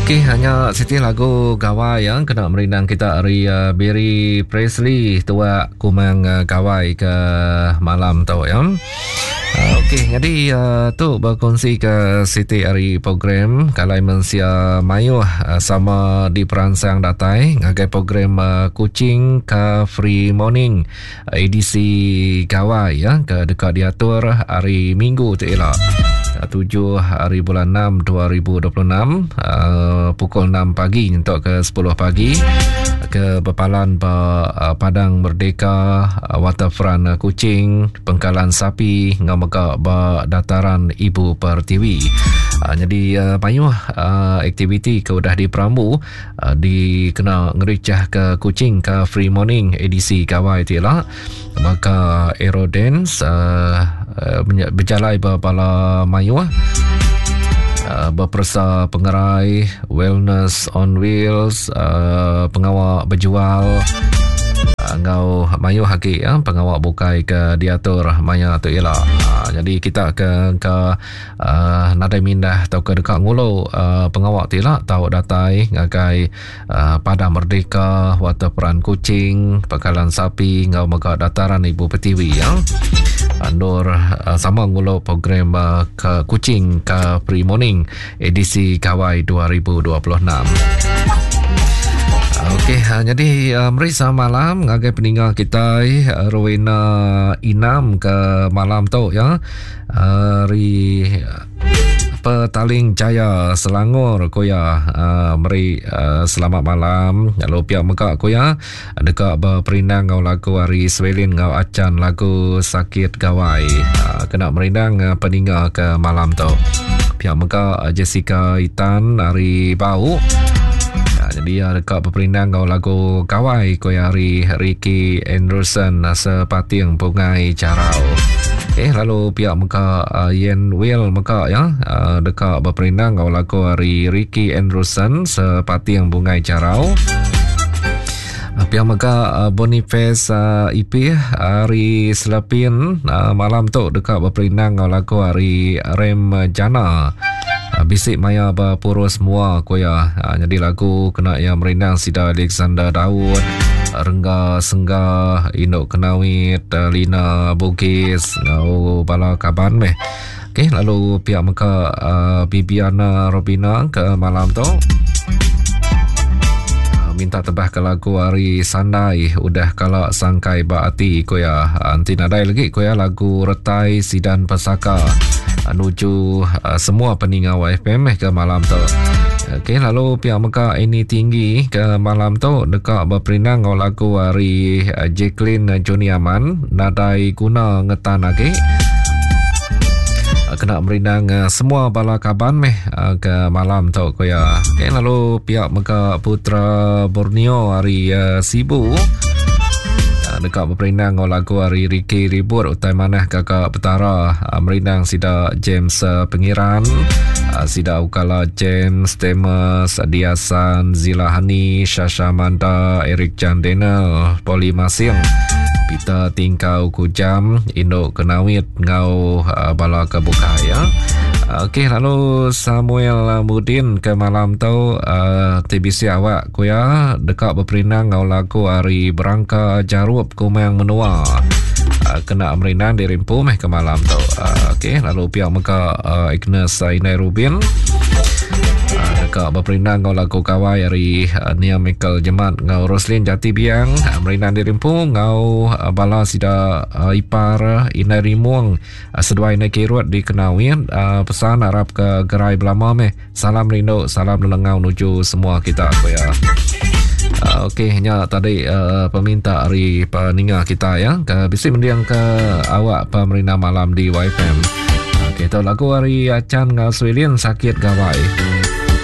Okey, hanya siti lagu gawai yang kena merindang kita hari uh, Barry Presley tuak kumang uh, gawai ke malam tu ya. Uh, Okey, jadi uh, tu berkongsi ke siti hari program kalai mensia mayuh uh, sama di peransang datai ngagai program uh, Kuching Car Free Morning edisi Gawai ya ke deka diatur hari Minggu tu ila. 7 hari bulan 6 2026 uh, pukul 6 pagi untuk ke 10 pagi ke Bepalan ba uh, Padang Merdeka uh, Waterfront Kuching Pengkalan Sapi ngau mega ba Dataran Ibu Pertiwi. Uh, jadi uh, mayuh uh, aktiviti ke udah diperambu uh, dikena ngericah ke Kuching ke Free Morning edisi Gawai ti ila baka Aerodance uh, uh, bejalai ba bala mayuh uh, beperesa pengerai wellness on wheels uh, pengawa bejual enggau mayuh agi ya, pengawa bukai ke diatur maya tu ila. Uh, jadi kita ke ke uh, nadai mindah tauka deka ngulu uh, pengawa ti ila tau datai ngagai uh, Padang Merdeka, Waterfront Kuching, Pekalan Sapi enggau mega Dataran Ibu Pertiwi ya. Andur uh, sama ngulu program uh, ke Kuching ke Free Morning edisi Gawai 2026. Okey, ha, jadi uh, meri selamat malam ngagai peninga kita Rowena Inam ke malam tu ya. Ari Petaling Jaya Selangor ku iya uh, meri uh, selamat malam lalu pia mega ku iya deka beperindang enggau lagu ari Swelin enggau Achan lagu Sakit Gawai uh, kena merindang uh, peninga ke malam tu. Pia mega uh, Jessica Itan ari Bau uh, jadi iya deka beperindang enggau lagu Gawai ku iya ari Ricky Anderson Sepating Bungai Jarau. Eh lalu pia mega uh, Yen Will mega ya uh, deka beperindang enggau lagu ari Ricky Anderson Sepating Bungai Jarau. Uh, pia mega uh, Boniface uh, Ipih ari Selepin uh, malam tu deka beperindang enggau lagu ari Rem Jana. Uh, bisi maya bepurus mua ku iya. Uh, nyadi lagu kena iya merindang sida Alexander Daud, Rengga Sengga, Indu Kenawit, Lina Bugis enggau bala kaban meh. Okey lalu pia mega uh, Bibiana Robina ke malam tu. Uh, minta tebah ke lagu ari Sandai udah kala sangkai ba ati ku iya. Uh, enti nadai lagi ku iya lagu Retai Sidan Pesaka nuju uh, semua peninga YFM meh ke malam tu. Okey lalu pia mega ini tinggi ke malam tu deka beperindang enggau lagu ari eh, Jacqueline Johnny Aman nadai guna ngetan agi. Eh, kena merindang eh, semua bala kaban meh ke malam tu ku ya. Okey lalu pia mega Putra Borneo ari Sibu deka beperindang enggau lagu ari Ricky Ribut utai manah gaga Petara merindang sida James Pengiran sida Ukala James Temes Diasan Zila Hani Shasha Manta Eric Jan Daniel Poli Masing Peter Tingkau Kujam Induk Kenawit enggau bala ke bukai ya. Okey lalu Samuel Mudin ke malam tu uh, TBC awak ku iya deka beperindang enggau lagu ari Berangka Jarup Kumang Menua. Uh, kena merindang diri empu meh ke malam tu. Uh, Okey lalu pia mega uh, Agnes Inai Rubin uh, deka beperindang enggau lagu gawai ari uh, Nia Michael Jemat enggau Roslin Jati Biang uh, merindang diri empu enggau uh, bala sida uh, ipar Inai Rimung uh, seduai Inai Kirut di Kenawit uh, pesan arap ke gerai belama meh. Salam rindu, salam lelengau nuju semua kita ku ya. Uh, Okey, nya tadi uh, peminta ari peninga kita ya. Ke bisi mendiang ke awak pemerintah malam di YFM. Okey, tu lagu ari Achan ngau Swilin sakit gawai.